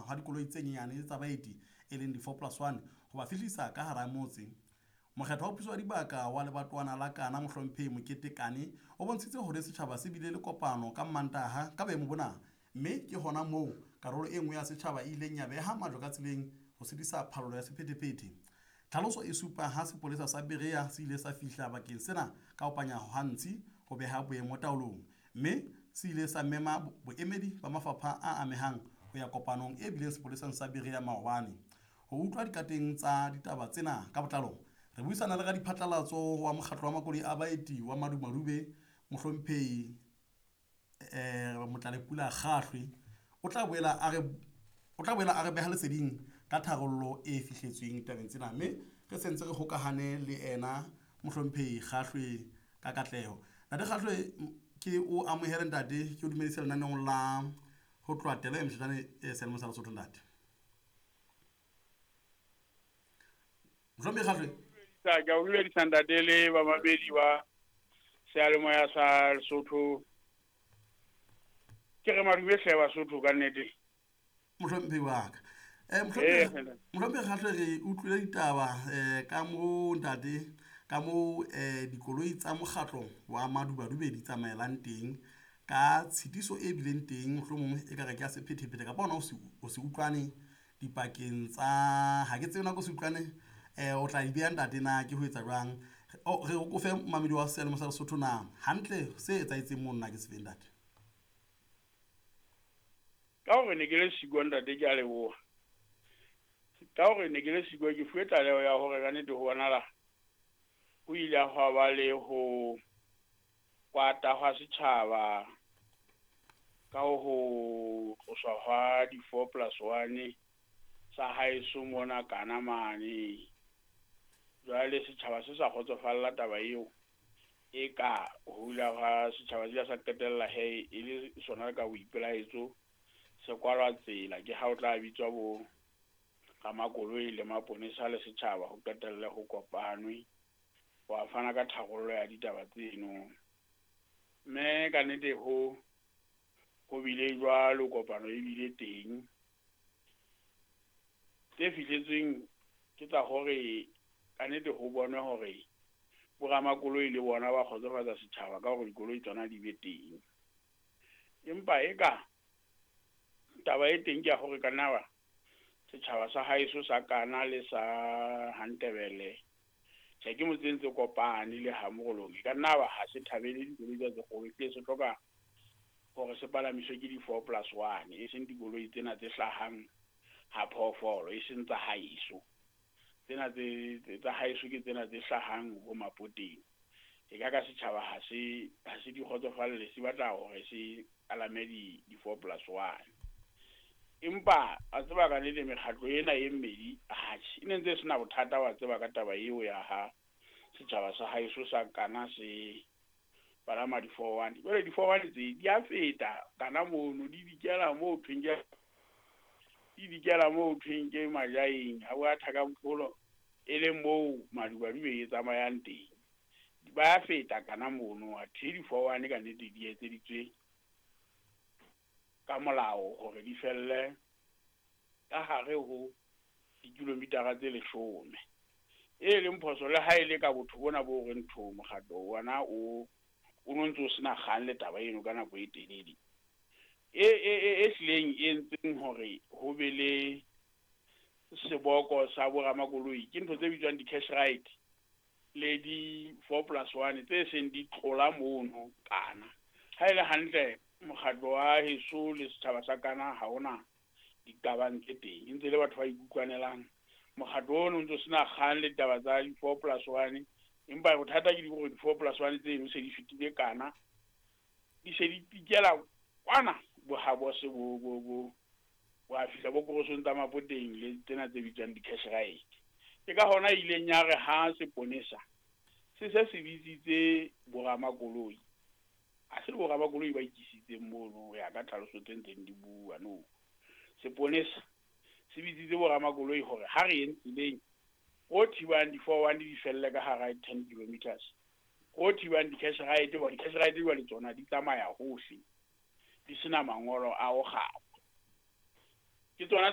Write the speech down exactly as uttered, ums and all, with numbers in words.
ha dikoloi tse nyenyane tsa baeti e leng di-four plus one ho ba fihlisa ka hara motse. Mokgetho wa puso wa dibaka wa lebatowana la Kana Mohlomphehi Mokete Kane o bontshitse hore setjhaba se bile le kopano ka Mmantaha ka boemo bona, mme ke hona moo karolo e nngwe ya setjhaba e ileng ya beha majwe ka tseleng ho sitisa phallo ya sephethephethe. Tlhaloso e supa ha sepolesa sa Berea se ile sa fihla bakeng sena ka ho panya ha ntshi ho beha boemo taolong, mme se ile sa mema boemedi ba mafapha a amehang ho ya kopanong e bileng sepoleseng sa Berea maobane. Ho utlwa dikateng tsa ditaba tsena ka botlalo, re buisana le radiphatlalatso wa mokgatlo wa makoloi a baeti wa Madumadube Mohlomphehi um Motlalepula Kgahlwe. O tla boela a re o tla boela a re beha leseding ka tharollo e fihletsweng tabeng tsena, mme re sentse re hokahane le ena Mohlomphehi Kgahlwe ka katleho. Ntate Kgahlwe, ke o amohele ntate, ke o dumedise lenaneong la ho tloha telo e moshetane e seyalemoya sa Lesotho ntate. Mohlomphehi Kgahlwe. Ke a o dumedisa ntate le bamamedi ba seyalemoya sa Lesotho. Ke re madume hle Basotho ka nnete. Mohlomphehi wa ka. Eh Mohlomphehi Kgahlwe, re utlwile ditaba eh ka moo ntate, ka moo eh dikoloi tsa mokgatlo wa Madubadube di tsamaelang teng, ka tshitiso e bileng teng mohlomong e ka re ke ya sephethephethe kapa hona ho se utlwane dipakeng tsa, ha ke tsebe nako se utlwane eh o tla di beha ntate na ke ho etsa jwang. Re o fe mamedi wa seyalemoya sa Lesotho na hantle se etsahetseng moo nna ke se feng ntate? Ka hore ne ke le siko ntate, ke a leboha. Ka hore ne ke le siko, ke fuwe tlaleho ya hore ka nnete ho bonahala ho ile hwa ba le ho kwata hwa setjhaba ka ho tloswa hwa di-four plus one sa haeso mona Kana mane. Jwale setjhaba se sa kgotsofalla taba eo, e ka ho ile hwa setjhaba se ile sa qetella he e le sona ka boipelaetso se kwalwa tsela. Ke ha o tla bitswa bo ramakoloi le maponesa le setjhaba ho qetelle ho kopanwe wa fana ka tharollo ya ditaba tseno. Mme ka nnete ho ho bile jwalo, kopano e bile teng. Tse fihletsweng ke tsa hore ka nnete ho bonwe hore boramakoloi le bona ba kgotsofatsa setjhaba ka hore dikoloi tsona di be teng. Empa eka taba e teng ke ya hore ka nna setjhaba sa haeso sa Kana le sa Hantebele, tjhe ke motse ntse kopane le ha Morolong, e ka nna ba ha se thabele dikoloi tsa tse kgolo, ehlile se hloka hore se palamiswe ke di-four plus one, e seng dikoloi tsena tse hlahang ha phoofolo, e seng tsa haeso. Tsena tse tsa haeso ke tsena tse hlahang ho Mapoteng. E ka ka setjhaba ha se ha se di kgotsofalle, se batla hore se palame di di-four plus one. Empa a tseba ka nnete mekgatlo ena e mmedi atjhe e ne ntse e sena bothata wa tseba ka taba eo ya ha setjhaba sa haeso sa Kana se palama di-four one. Jwale di-four one tse di a feta Kana mono, di dikela moo thweng ke di dikela moo thweng ke Majaeng, ha wa Thakampolo e leng moo Madubadube e tsamayang teng. Ba feta Kana mono, athe di-four one ka nnete di etseditswe ka molao hore di felle ka hare ho dikilomitara tse leshome. E leng phoso le ha e le ka botho bona bo reng tho mokgatlo wona o o no ntso sena kgang le taba eno ka nako e telele. E e e hlileng e entseng hore ho be le seboko sa boramakoloi ke ntho tse bitswang di-cash ride le di-four plus one tse seng di tlola mono Kana. Ha e le hantle mokgatlo wa heso le setjhaba sa Kana ha hona diqabang tse teng, e ntse le batho ba ikutlwanelang. Mokgatlo ono o ntso sena kgang le ditaba tsa di-four plus one, empa bothata ke hore di-four plus one tseno se di fetile Kana, di se di tikela kwana bo ha bo se bo bo bo wa fihla bo korosong tsa Mapoteng le tsena tse bitswang di-cash ride. Ke ka hona ileng ya re ha seponesa se se se bitsitse boramakoloi, ha se boramakoloi ba ikisitseng mono ho ya ka tlhaloso tse ntseng di bua no. Seponesa se bitsitse boramakoloi hore ha re yeng tseleng ho thibang di-four one di felle ka hara ten kilometers, ho thibang di-cash ride, hoba di-cash ride jwale tsona di tsamaya hohle di sena mangolo a ho kgaba. Ke tsona